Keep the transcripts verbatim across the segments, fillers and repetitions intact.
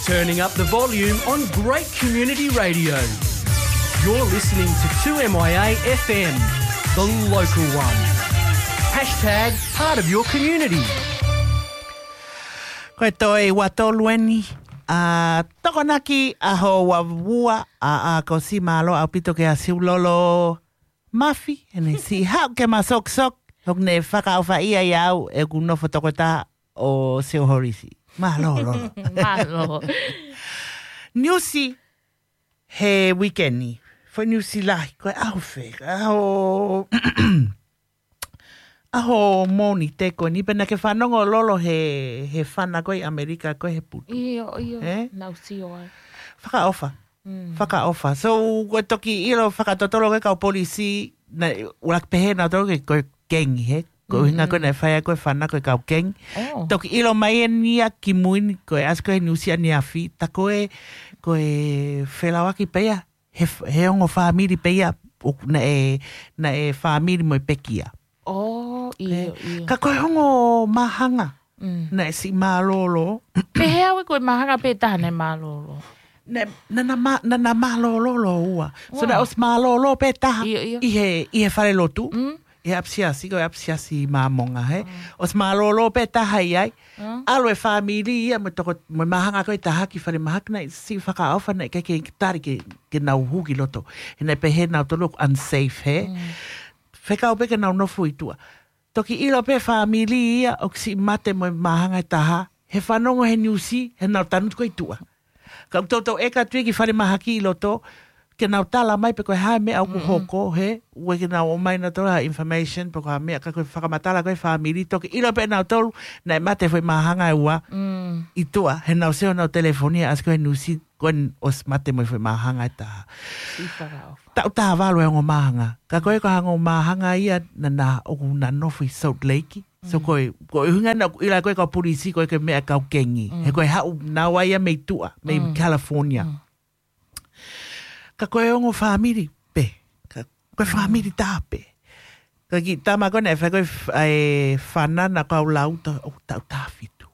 Turning up the volume on great community radio. You're listening to two M I A F M, the local one. Hashtag part of your community. Ko e toe ua tolu eni, ʻa Tokonaki, ʻaho ua ua, ʻa, ʻa ko si mālō ʻaupito ke a siulolo mafi, ʻene siʻi haʻu ke ma sokisok, hoku ne fakaʻofaʻia ia au, ʻeku nofo tokotaha ʻo Sio Horisi. Mālō, lolo. Mālō. Niusi he uike ni. Foʻi niusi lahi, ko e ʻaho fē, ʻaho, ʻaho Mōnite ko eni, pea naʻa ke fanongo lolo he, he fana ko ē ʻi ʻAmelika ko ē he putu. ʻIo, ʻio. Eh? Naʻu sio ai. Fakaʻofa. Mm. Fakaʻofa. So, ko e toki ʻilo fakatotolo ko ē kau polisi, naʻe, ʻuluaki pehē nautolu ke ko e kengi, he? Ko e ʻuhinga ko ē naʻe fai ai ko e fana ko e kau kengi. Oh. Toki ʻilo mai eni ia kimui ni ko e ʻasi ko ē he niusi ʻaneafi, tā ko e, ko e felauʻaki pē ia, he f-, he ongo fāmili pē ia, ʻo naʻe, naʻe fāmili mo e pekia. Oh, ʻio, eh, ʻio. Ka ko e ongo māhanga, mm, naʻe siʻi mālōlō. Pehē au ē ko e māhanga pē taha naʻe mālōlō. Naʻe, naʻa na mā-, naʻa na mālōlō lōua. So, wow, naʻe ʻosi mālōlō pē taha, ʻio, ʻio, ʻi he, ʻi he fale lotu. Mm. ʻI he ʻapisiasi, ko e ʻapisiasi Māmonga, he? Mm. ʻOsi mālōlō pē taha ʻi ai. Mm. ʻAlu e fāmili ia mo e toko, mo e māhanga ko ē taha ki fale mahaki, naʻe siʻi fakaʻofa, naʻe ʻikai ke tali ke, ke nau hū ki loto. He naʻe pehē nautolu ʻoku unsafe, he? Mm. Fekau pē ke nau nofo ʻi tuʻa. Toki ʻilo pē fāmili ia ʻoku siʻi mate mo e māhanga ʻe taha, he fanongo he niusi, he nau tangutu ko ē ʻi tuʻa. Ka ʻoku toutou ʻeke atu ia ki fale mahaki ʻi loto, ke nau tala mai pe ko e hā e meʻa ʻoku, mm-mm, hoko, he? ʻOua ke nau ʻomai nautolu ha information, pe ko ha meʻa, ka ko e fakamatala ko ē fāmili, toki ʻilo pē nautolu, naʻe mate foʻi māhanga ʻe ua, mm, ʻi tuʻa, he nau sio nau telefoni, ʻasi ko ē he niusi, ko eni ʻosi mate mo e foʻi māhanga ʻe taha. Siʻi fakaʻofa. Taʻu taha valu e ongo māhanga. Ka ko e ko e ongo māhanga ia naʻa na ʻoku na nofo ʻi Salt Lake. So, mm, ko e, ko e ʻuhinga naʻa ku ʻilo ko ē kau polisi, ko e ko e meʻa kau kengi. Mm. He ko e haʻu naua ia mei tuʻa, mei, mm, California. Mm. Ka ko e ongo fāmili pē. Ka ko e, mm, fāmili taha pē. Ko e kiʻi tama ko ē naʻe fai ko ē f-, ʻa e fana naʻa ku lau ta-, ʻo taʻu taha fitu.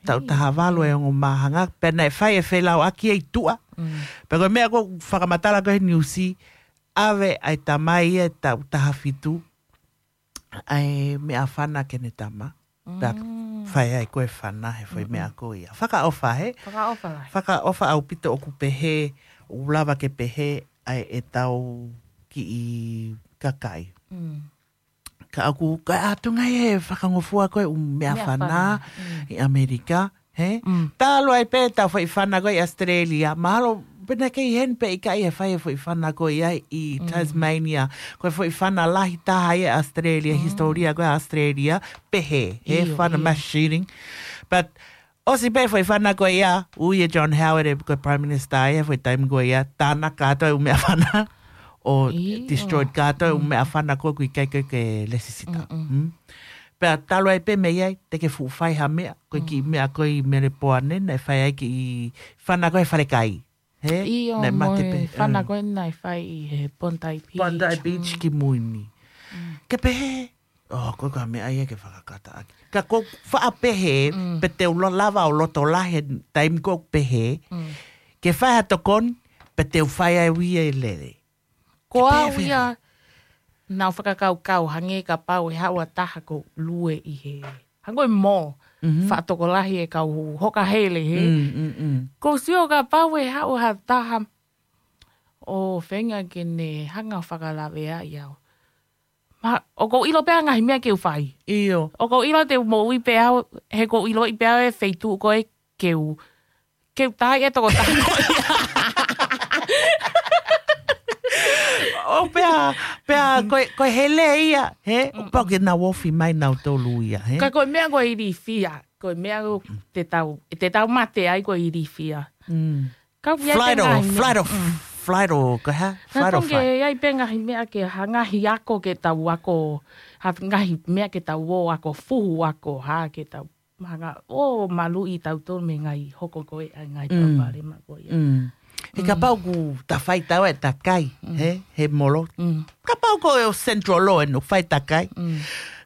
Taʻu, ʻio, taha valu e ongo māhanga, pea naʻe fai e felauʻaki ia ʻi tuʻa. Mm. Pea ko e meʻa ko ē fakamatala ko ē he niusi, ʻave ʻa e tamai ia ʻe taʻu taha fitu, ʻa e meʻafana ki heʻene tama. Pea, mm, fai ai ko ē fana he foʻi, mm-mm, meʻa ko ia. Fakaʻofa, he? Fakaʻofa lahi. Fakaʻofa ʻaupito ʻoku pehē, ʻoku lava ke pehē ʻa e, ʻetau kiʻi kakai. Mm. Ka ʻoku, ka ʻatu ngai he fakangofua ko ē ʻū meʻafana, meʻafana, mm, ʻi ʻAmelika, he? Mm. Talu ai pē ʻetau foʻi fana ko ē ʻi ʻAositelēlia, mahalo pē naʻe kei heni pē ʻikai he fai e foʻi fana ko ia ʻi, mm, Tasmania, ko e foʻi fana lahi taha ia ʻi ʻAositelēlia, mm, hisitōlia ko ē ʻAositelēlia, pehē, he, ʻio, fana, ʻio, mass shooting. But ʻosi pē foʻi fana ko ia, ui ʻe John Howard ʻe ko e Prime Minister ia, foʻi taimi ko ia, tānaki kātoa e ʻū meʻafana, ʻo, ʻio, destroyed kātoa e ʻū, mm, meʻafana ko ē ʻoku ʻikai ko ē ke lesisita. Mm-mm. Mm? Pea talu ai pē mei ai, te ke fuʻu fai ha meʻa, ko e kiʻi, mm, meʻa ko ē ʻi Melepoane, naʻe fai ai kiʻi fana ko ē he falekai. He? ʻIo, naʻe mo mate e pē, fana, mm, ko ē naʻe fai ʻi he Bondi Beach. Bondi Beach, mm, kimui ni. Mm. Ke pehē, oh, ko e ko e meʻa ia ke fakakata ʻaki. Ka ko e faʻa pehē, mm, pe te u lo-, lava ʻo loto lahi he taimi ko ē pehē, mm, ke fai ha tokoni, pe te u fai ai ʻe au ia e lele. Ko au ia, naʻu fakakaukau hangē kapau ʻe haʻu ha taha ʻoku lue ʻi he, hangē ko e mall, mhm, faʻa tokolahi e kau hoka hele, he? Mm, mm, mm. ʻOku ou sio kapau ʻe haʻu ha taha ʻo feinga ke ne hanga ʻo fakalaveaʻi au. Ma, ʻoku ou ʻilo pē ʻa e ngaahi meʻa ke u fai. ʻIo. ʻOku ou ʻilo te u moʻui pē au, he ʻoku ou ʻiloʻi pē au e feituʻu ko ē ke u, ke u taaʻi e tokotaha ko ia. ʻO pea, pea, ko e, ko e hele ia, he? Mm. ʻOku pau ke nau ofi mai nautolu ia, he? Ka ko e meʻa ko e ilifia, ko e meʻa ko ē te tau, te tau mate ai ko e ilifia. Mm. Ka ʻoku ʻi ai pē ngaahi meʻa. Flight or, mm, flight or, ko e hā? Flight or fight. Naʻa tau ke ʻi ai pē ngaahi meʻa ke ha ngaahi ako ke tau ako, ha ngaahi meʻa ke tau ō ako, fuhu ako, hā ke tau hanga ʻo maluʻi tautolu mei he ngaahi hoko ko ē ʻa e ngaahi, mm, palopalema ko ia. Mm. He, mm, kapau ʻoku ta fai taua e takai, mm, he, he molo. Mm. Kapau ko e ʻo Central Law ʻoku fai takai. Mm.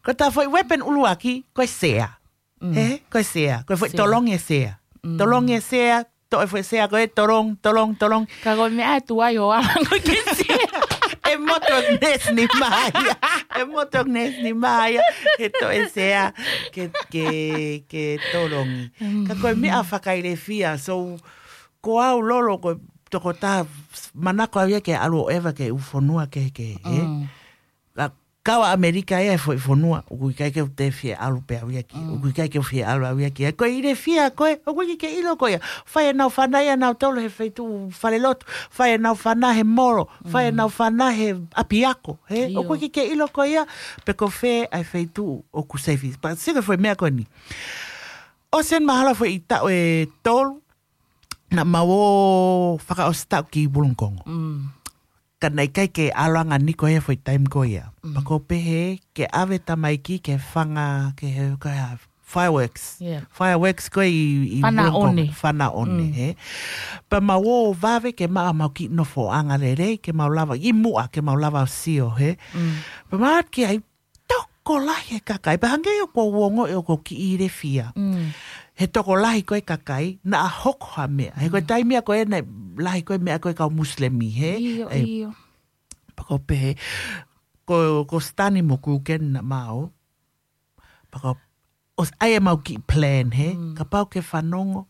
Ko ʻeta foʻi weapon ʻuluaki, ko e sea. Mm. He, ko e sea. Ko e foʻi sea. Tolongi e sea. Mm. Tolongi e sea, toʻo e foʻi sea ko ē, tolong, tolong, tolong. Ka ko e meʻa ʻe tuai ʻo ala ko ē ke sea. ʻE moto nesi ni maia. ʻE moto nesi ni maia. He toʻo e sea ke, ke, ke tolongi. Ka ko e meʻa fakailefia. So, ko au Lolo ko e tokotaha manako au ia ke ʻalu ʻo ʻeva ki he ʻū fonua kehekehe, ē? Ka, kau ʻAmelika ia he foʻi fonua, ʻoku ʻikai ke u toe fie ʻalu pē au ia ki, ʻoku ʻikai ke u fie ʻalu au ia ki. Ko e ilefia ko ē, ʻoku ʻikai ke ʻilo ko ia. Fai ʻenau fana ia nautolu he feituʻu falelotu, fai ʻenau fana he molo, fai ʻenau fana he ʻapiako, hē? ʻIo. ʻOku ʻikai ke ʻilo ko ia, pe ko fē ʻa e feituʻu ʻoku safety. Pea sio ki he foʻi meʻa ko eni. ʻOsi eni mahalo foʻi taʻu ʻe tolu, naʻa mau ō fakaʻosi taʻu ki Wollongong. Ka naʻe ʻikai ke ʻalu ange ʻa Niko ia foʻi taimi ko ia. Pea ko u pehē ke ʻave tamaiki ke fanga, ke he, ke ha fireworks. Yeah. Fireworks ko ē ʻi, ʻi Wollongong. Fana one. Fana one, hē. Pea mau ō vave ke maʻu ʻemau kiʻi nofoʻanga lelei, ke mau lava, ʻi muʻa ke mau lava ʻo sio, hē. Pea mau ō ki ai, tokolahi e kakai. Pea hangē ʻoku ou ongoʻi ʻoku ou kiʻi ilefia. He tokolahi ko ē kakai, naʻa hoko ha meʻa. He ko e taimi ia ko ē naʻe lahi ko ē meʻa ko ē kau Musilemi, hē? ʻIo, ʻio. Pea ko u pehē, ko, ko Stani mo Kuken naʻa mau. Pea ko u, ʻosi ʻai ʻemau kiʻi plan, hē? Kapau ke fanongo,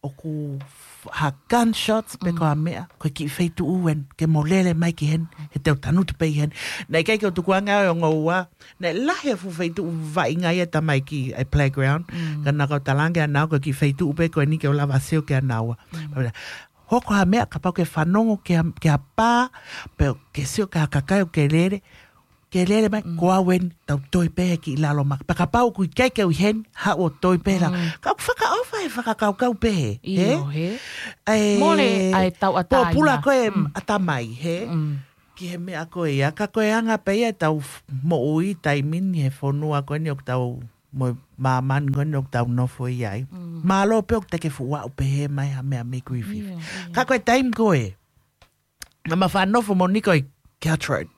ʻoku f-, ha gunshots pe ko ha meʻa, ko e kiʻi feituʻu eni, ke mo lele mai ki heni, he te u tangutu pē ʻi heni. Naʻe ʻikai ke u tukuange au ʻe ongo ua, naʻe lahi e fuʻu feituʻu vaʻinga ia tamaiki ʻa e playground, ka naʻa ku talaange ʻe au ko e kiʻi feituʻu pē ko eni ke u lava sio ki ai ʻe au. Hoko ha meʻa, kapau ke fanongo ki ha, ki ha pā, pe ke sio ki ha kakai ʻoku ke lele, ke lele mai, ko au eni, tau toe pē he kiʻi lalo maka. Pea kapau ʻoku ʻikai ke u ʻi heni, haʻu ʻo toe pē la. Ka ʻoku fakaʻofa he fakakaukau pehē, ʻIo, hē? Mole ʻa e tauʻatāina. Pōpula ko ē ʻatamai, hē? Ki he meʻa ko ia, ka ko e anga pē ia ʻetau f-, moʻui taimi ni he fonua ko eni ʻoku tau mo māmani ko eni ʻoku tau nofo ʻi ai. Mālō pē ʻoku te ke fuʻu aʻu pehē mai ha meʻa mei Griffith. ʻIo, ʻio. Ka ko e taimi ko ē, naʻa ma faʻa nofo mo Niko ʻi Caltrate.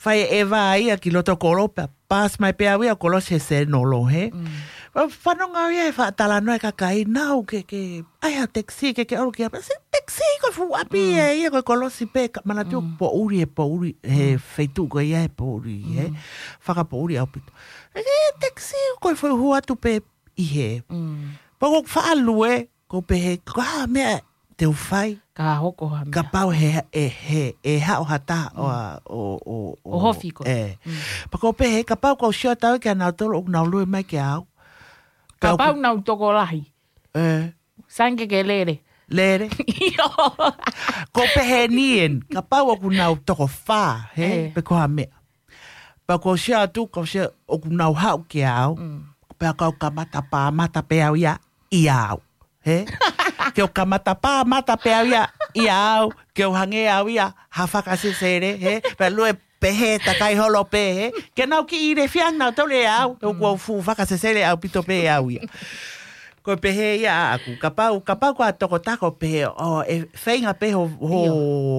Fai e ʻeva ia ki loto kolo pea, pass mai pē au ia ʻo kolosi he Senolo, hē? Pea fanongo au ia he faʻa talanoa e kakai, nau ke, ke, ʻai ha taxi ke, ke ʻalu ki ai. Pea sio taxi ko e fuʻu ʻapi ē ia ko e kolosi pē, ka manatu poʻuli he poʻuli, he feituʻu ko ia he poʻuli, hē? Fakapoʻuli ʻaupito. E taxi ko e foʻi hū atu pē ʻi hē. Pea ko u faʻa lue, ko u pehē, ko ha meʻa te u fai. Ka hoko ha meʻa. Kapau he, he, he, ʻe haʻu ha taha ʻo, ʻo, ʻo, ʻO hofi ko. ʻE. Pea ko u pehē, kapau ko u sio atu au ki ai ʻa nautolu ʻoku nau lue mai ki ai. Kapau nau tokolahi. ʻE. Sai ange ke lele. Lele. ʻIo. Ko u pehē ni eni, kapau ʻoku nau toko fā, hē? Pe ko ha meʻa. Pea ko u sio atu, ko u sio ʻoku nau haʻu ki ai. Pea ka u kamata pā mata pē au ia ʻia au. Hē? Ke u kamata pā mata pē au ia ʻia au. Ke u hangē au ia ha fakasesele, hē? Pea lue pehē takai holo pē, hē? Ke nau kiʻi ilefia nautolu ʻe au. ʻOku ou fuʻu fakasesele ʻaupito pē au ia. Ko e pehē ia ʻaʻaku, kapau, kapau ko ha tokotaha ko u pehē, ʻo, ʻe feinga pē ho, ho,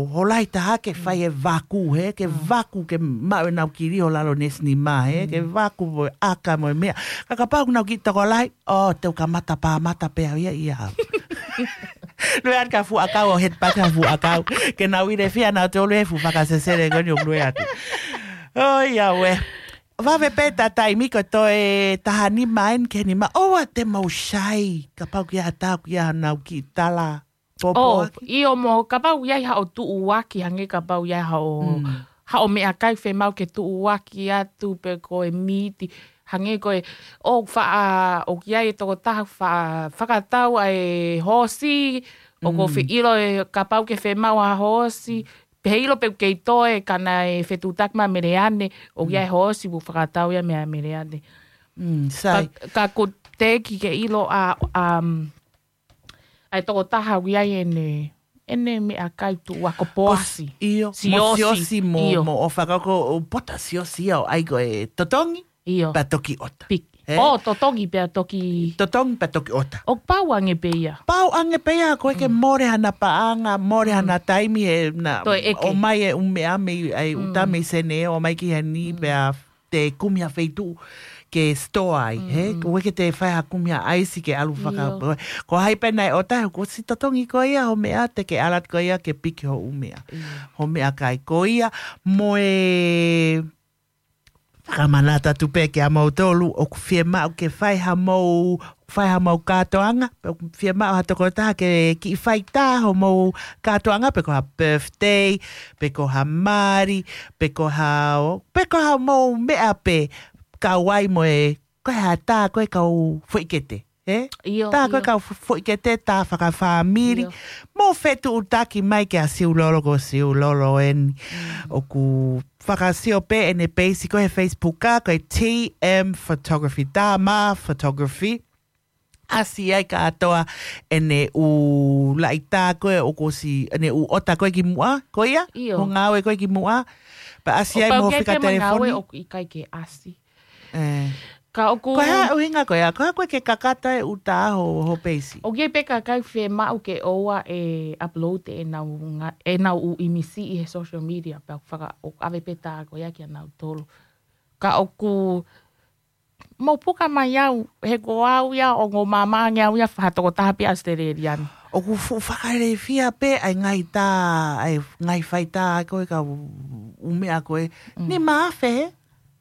ho lahi taha ke fai e vaku, hē, ke vaku ke maʻu ʻenau kili ho lalo nesi ni mā, hē, ke vaku mo e ʻaka mo e meʻa. Ka kapau ʻoku nau kiʻi tokolahi, ʻo, te u kamata pā mata pē au ia ʻia au. Lue atu ki ha fuʻu ʻakau ʻo head back ha fuʻu ʻakau. Ke nau ilefia nautolu he fuʻu fakasesele ko eni ʻoku lue atu. ʻOiauē. Vave pē ʻeta taimi ko e toe taha nima eni ki he nima. ʻOua te mou sai. Kapau ʻoku ʻi ai ha taha ʻoku ʻi ai haʻanau kiʻi tala pōpoaki. ʻIo mo, kapau ʻoku ʻi ai haʻo tuʻuaki, hangē kapau ʻoku ʻi ai haʻo, haʻo meʻakai fiemaʻu ke tuʻuaki atu pe ko e miti. Hangē ko e, ʻoku faʻa, ʻoku ʻi ai e tokotaha faʻa, fakatau ʻa e hoosi, ʻoku ou fie ʻilo ē kapau ʻoku ke fiemaʻu ha hoosi, pehē ʻilo pe ʻoku kei toe ka naʻe fetuʻutaki mo Meleane, ʻoku ʻi ai e hoosi ʻoku fakatau ia meia Meleane. Sai. Ka, ka ko u teʻeki ke ʻilo ʻa, ʻa, ʻa e tokotaha ʻoku ʻi ai ʻene, ʻene meʻakai tuʻuaki ko Poasi. ʻIo, mo Siosi. Siosi mo, ʻio. Mo ʻOfa ka ko u pota Siosi ia ʻo ʻai ko e totongi. ʻIo. Pea toki ʻota. Piki. Hē? ʻO, totongi pea toki. Totongi pea toki ʻota. ʻOku pau ange pē ia. Pau ange pē ia, ko e ke mole hana paʻanga, mole hana taimi he na, toe ʻeke. ʻOmai e ʻū meʻa mei, ʻai ʻuta mei Sene, ʻomai ki heni, pea te kumi ha feituʻu ke store ai, he? Mm. Ko e ke te fai ha kumi ʻaisi ke ʻalu faka-, ʻIo. ko hai pē naʻe ʻota, ko si totongi ko ia ho meʻa, te ke ʻalu atu ko ia ke piki ho ʻū meʻa. ʻIo. Ho meʻakai ko ia, mo e fakamanatu atu pē kia moutolu, ʻoku fiemaʻu ke fai ha mou, fai ha mou kātoanga, pe ʻoku fiemaʻu ha tokotaha ke kiʻi fai tā ho mou kātoanga, pe ko ha birthday, pe ko ha mali, pe ko ha, pe ko ha mou meʻa pē, kau ai mo e, ko e ha tā ko e kau foʻi kete, ē? ʻIo, Tā ko e ʻio. kau fo-, foʻi kete, tā fakafāmili. ʻIo. Mou fetuʻutaki mai kia Siulolo, ko Siulolo eni. Mm. ʻOku fakasio pē ʻene peisi ko e he Facebook ka, ko e T M Photography, tā mā Photography. ʻAsi ai kātoa ʻene ʻū laʻi tā ko e ʻoku ʻosi, ʻene ʻū ʻota ko e ki muʻa, ko ia? ʻIo. Mo ngāue ko e ki muʻa. Pea ʻasi ai mo fika telefoni. ʻOku ʻikai ke ʻasi. ʻE. Ka ʻoku Ko e hā ʻuhinga ko ia, ko e hā ko e ke kakato e ʻū tā ho, ho peisi? ʻOku ʻi ai pē kakai fiemaʻu ke ʻoua ʻe upload ʻenau nga-, ʻenau ʻū ʻīmisi ʻi he social media, pea ʻoku faka-, ʻoku ʻave pē tā ko ia kia nautolu. Ka ʻoku mou puka mai au, he ko au ia, ʻo ngō māmā ange au ia, fā tokotaha pē Australian. ʻOku fuʻu fakalelefia pē, ʻa e ngaahi tā, ʻa e ngaahi fai tā, ko e kau ʻū meʻa ko e. Mm. Nima afe, he?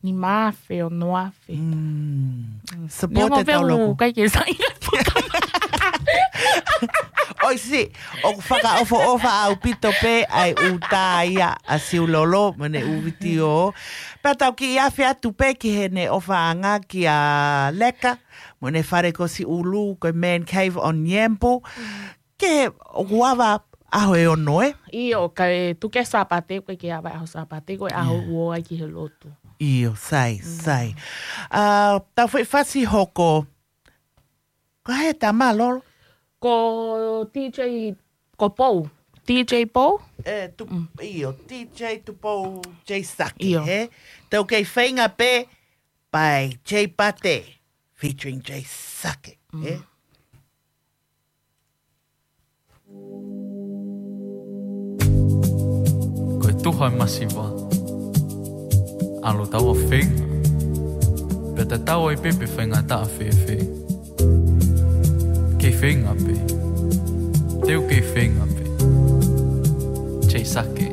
Nima afe, ono afe. Mm. Mm. Support Neongo e pē tau ʻoku loku. ʻikai ke sai. ʻOi si, ʻoku fakaʻofoʻofa ʻaupito pē ʻa e ʻū tā ia ʻa Siulolo, mo ʻene ʻū vitiō. Pea tau kiʻi afe atu pē ki heʻene ʻofaʻanga kia Leka, mo ʻene fale ko Siʻulu, ko e Man Cave on Yampu. Mm. Ke ʻoku ava ʻaho ʻe ono, ē? ʻIo, ka e tuku e Sāpate, ko e ke ava ʻaho Sāpate, ko e ʻaho ʻoku ō ai ki he lotu. ʻIo, sai, Mm. sai. ʻA, tau foʻi fasi hoko. Ko hai e tama, Lolo? Ko D J, ko Pou. D J Pou? E, tu, Mm. ʻio, D J Tupou J Sake, ʻIo. he? Tau kei feinga pē, by J Pate, featuring J Sake, Mm. he? Ko e tuha e masiva, ʻalu taua feinga, pea tatau ai pē pe faingataʻa fēfē. Kei feinga pē, teu kei feinga pē. J Sake.